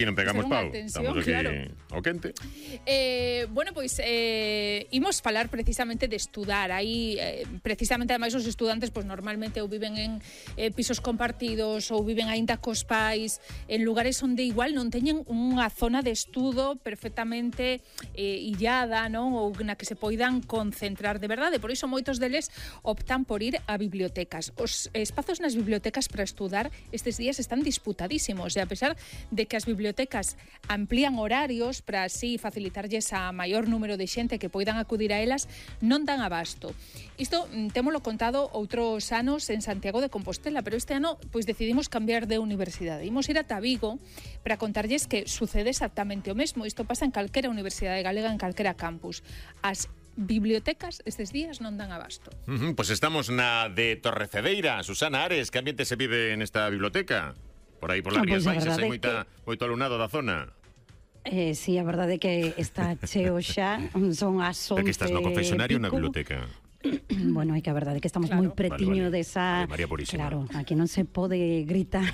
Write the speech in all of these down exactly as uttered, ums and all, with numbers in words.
E non pegamos pau, estamos aquí claro. O quente. Eh, bueno, pois eh, imos falar precisamente de estudar. Aí, eh, precisamente, ademais, os estudantes pois normalmente ou viven en eh, pisos compartidos ou viven aínda cos pais en lugares onde igual non teñen unha zona de estudo perfectamente eh, illada, non? Ou na que se poidan concentrar de verdade. Por iso moitos deles optan por ir a bibliotecas. Os espazos nas bibliotecas para estudar estes días están disputadísimos e a pesar de que as bibliotecas bibliotecas amplían horarios para así facilitarlles a maior número de xente que poidan acudir a elas, non dan abasto. Isto témolo contado outros anos en Santiago de Compostela, pero este ano pois decidimos cambiar de universidade. Imos ir ata Vigo para contarlles que sucede exactamente o mesmo. Isto pasa en calquera universidade galega, en calquera campus. As bibliotecas estes días non dan abasto. Uh-huh, pois pues estamos na de Torrecedeira. Susana Ares, que ambiente se vive nesta biblioteca? Por aí, por las Rías Baixas, hai moita, que... moito alumnado da zona. Eh, sí, a verdade é que está cheo xa, son as once. Porque estás no confesionario ou na biblioteca? Bueno, é que a verdade é que estamos claro. moi pretiño vale, vale. desa... Vale, María Purísima. Claro, aquí non se pode gritar.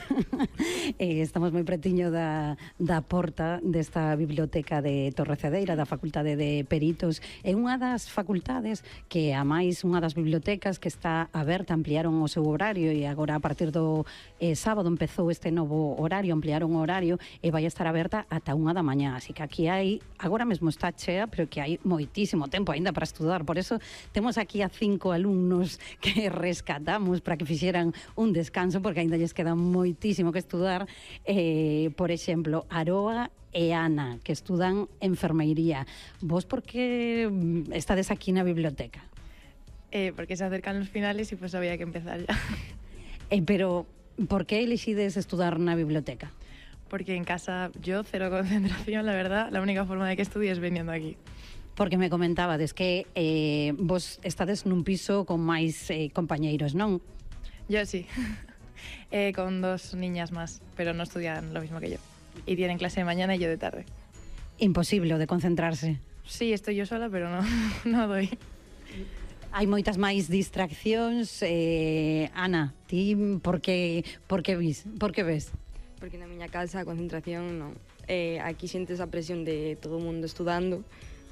eh, estamos moi pretiño da, da porta desta biblioteca de Torrecedeira, da Facultade de Peritos. É unha das facultades que, a máis, unha das bibliotecas que está aberta, ampliaron o seu horario e agora, a partir do eh, sábado, empezou este novo horario, ampliaron o horario e vai estar aberta ata unha da mañá. Así que aquí hai, agora mesmo está chea, pero que hai moitísimo tempo aínda para estudar. Por eso temos aquí a cinco alumnos que rescatamos para que fixeran un descanso, porque ainda lles queda moitísimo que estudar. Eh, por exemplo, Aroa e Ana, que estudan enfermeiría. Vos por que estades aquí na biblioteca? Eh, porque se acercan los finales y pues había que empezar ya. Eh, pero, por que elixides estudar na biblioteca? Porque en casa yo cero concentración, la verdad. La única forma de que estudie es viniendo aquí. Porque me comentabades que eh, vos estades nun piso con máis eh, compañeiros, non? Yo sí, eh, con dos niñas más, pero no estudian lo mismo que yo. Y tienen clase de mañana y yo de tarde. Imposible o de concentrarse. Sí, estoy yo sola, pero no, no doy. Hai moitas máis distraccións. Eh, Ana, ti por que, por que vis? Por que ves? Porque na miña casa a concentración non. Eh, aquí xentes a presión de todo o mundo estudando.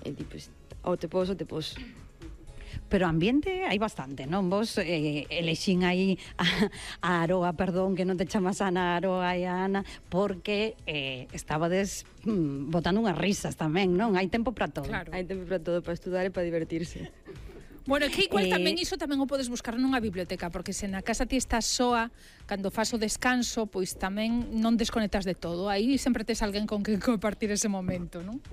E tipo, ou te pos ou te pos. Pero ambiente hai bastante, non? Vos eh, elexín aí a, a Aroa, perdón, que non te chamas Ana, Aroa e a Ana, porque eh, estabades mm, botando unhas risas tamén, non? Hai tempo para todo. Claro. Hai tempo para todo, para estudar e para divertirse. Bueno, que igual eh... tamén iso tamén o podes buscar nunha biblioteca, porque se na casa ti estás soa, cando fas o descanso, pois tamén non desconectas de todo. Aí sempre tes alguén con que compartir ese momento, non?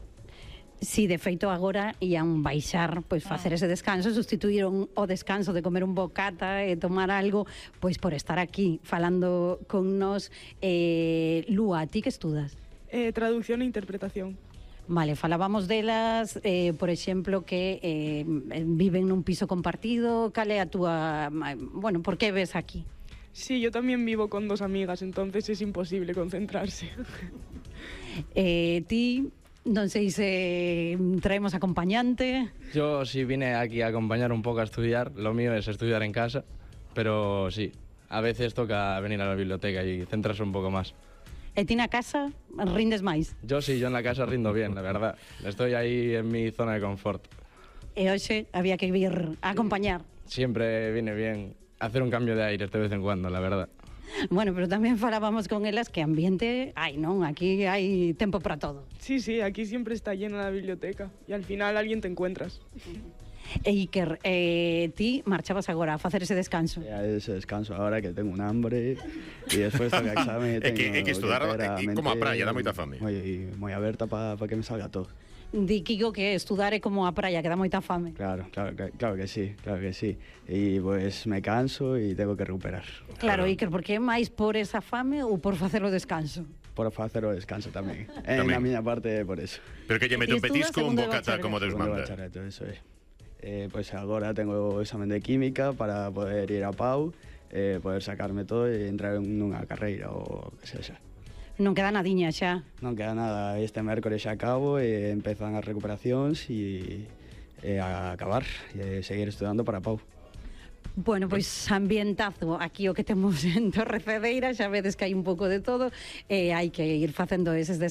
Si, sí, de feito agora ian baixar, pois facer ese descanso, sustituíron o descanso de comer un bocata e tomar algo, pois por estar aquí falando con nos. eh, Lúa, ti que estudas? Eh, traducción e interpretación. Vale, falábamos delas, eh, por exemplo, que eh, viven nun piso compartido. Cal é a túa... Bueno, por que ves aquí? Sí, yo también vivo con dos amigas, entonces es imposible concentrarse. eh, ti... Non sei se traemos acompañante. Yo sí vine aquí a acompañar un poco a estudiar. Lo mío es estudiar en casa, pero sí, a veces toca venir a la biblioteca y centrarse un poco más. ¿E ti na casa rindes máis? Yo sí, yo en la casa rindo bien, la verdad. Estoy ahí en mi zona de confort. E hoxe había que vir a acompañar. Siempre viene bien hacer un cambio de aire de vez en cuando, la verdad. Bueno, pero tamén falábamos con elas que ambiente hai, non? Aquí hai tempo para todo. Sí, sí, aquí siempre está llena la biblioteca y al final alguien te encuentras. E Iker, eh, ti marchabas agora a facer ese descanso? A ese descanso agora que tengo un hambre e despois do exame tengo... É que, é que estudar é como a praia, dá moita fame. Moi, moi aberta para pa que me salga todo. Di Kiko que estudar é como a praia, que dá moita fame. Claro, claro, claro que sí, claro que sí. E pues me canso e tengo que recuperar. Claro, Iker, por que máis por esa fame ou por facer o descanso? Por facer o descanso tamén. En a miña parte por eso. Pero que lle mete un petisco un bocata como Deus manda. Eso é. Eh, pues agora tengo o examen de química para poder ir a Pau, eh, poder sacarme todo e entrar en unha carreira ou que sexa. Non queda nadiña xa. Non queda nada, este mércores xa acabo e empezan as recuperacións e, e a acabar e seguir estudando para Pau. Bueno, pois ambientazo aquí o que temos en Torrecedeira, xa vedes que hai un pouco de todo e hai que ir facendo eses descansos.